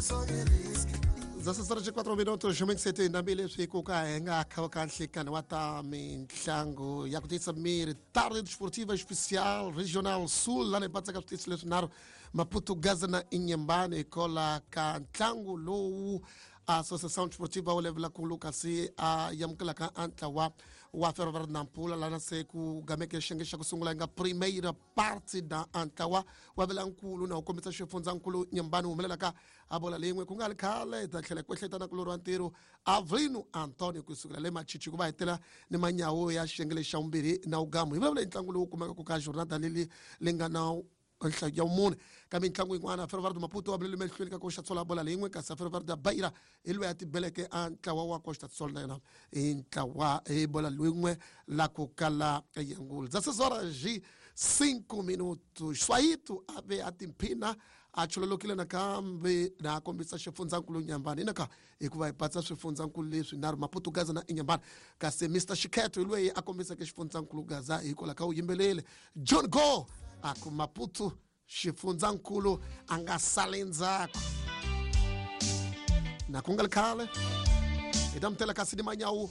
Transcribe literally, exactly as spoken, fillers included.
Dezesseis horas e quatro minutos, sete leswi ku ka hi nga kha ka nhlikani wa ta mitlangu ya ku tiyisa miri tarde desportiva especial regional sul lana hi patsaka switichi leswinharhu Maputo, Gaza na Inhambane hikola ka ntlangu lowu Associação Desportiva Olevela-Kulu kasi a amukelaka a ntlawa wa Ferroviário Nampula lana se ku gameke xiyenge xa ku sungula yi nga primeira parte da ntlawa wa velankulu na wu kombisa xifundzankulu Nyambani humelelaka a bola leyin'we ku nga ri khale hi ta tlhela ku ehleketa na kulori wa ntirho Avelino Antonio kusukela le Machichi ku va hetela ni manyawo ya xiyenge lexi xa vumbirhi na wugamu hi vulavula hi ntlangu lowu kumekaka ka jornada leli li nga na nhlayo ya vumune ka mitlangu yin'wana Ferroviário do Maputo wa bulele mahlweni ka Costa Sol bola leyin'we kasi Ferroviário da Beira hi loyi a tibeleke a ntlawa wa Costa Sol na yona hi ntlawa hi bola leyin'we la ku kala yangulu dezesseis horas e cinco minutos Swaito a ve a timphina a chololokile nakambe na a kombisa xifundzankulu Nyambani inaka hikuva hi patsa swifundzankulu leswi nharhu Maputo, Gaza na Inhambane kasi Mister Xikhetho hi loyi a kombiseke xifundzankulu Gaza hikwalaho ka u yimbelele John Go a ku Maputo xifundzankulu a nga sali ndzhaku na ku nga ri khale hi ta mutela kasi ni manyawu.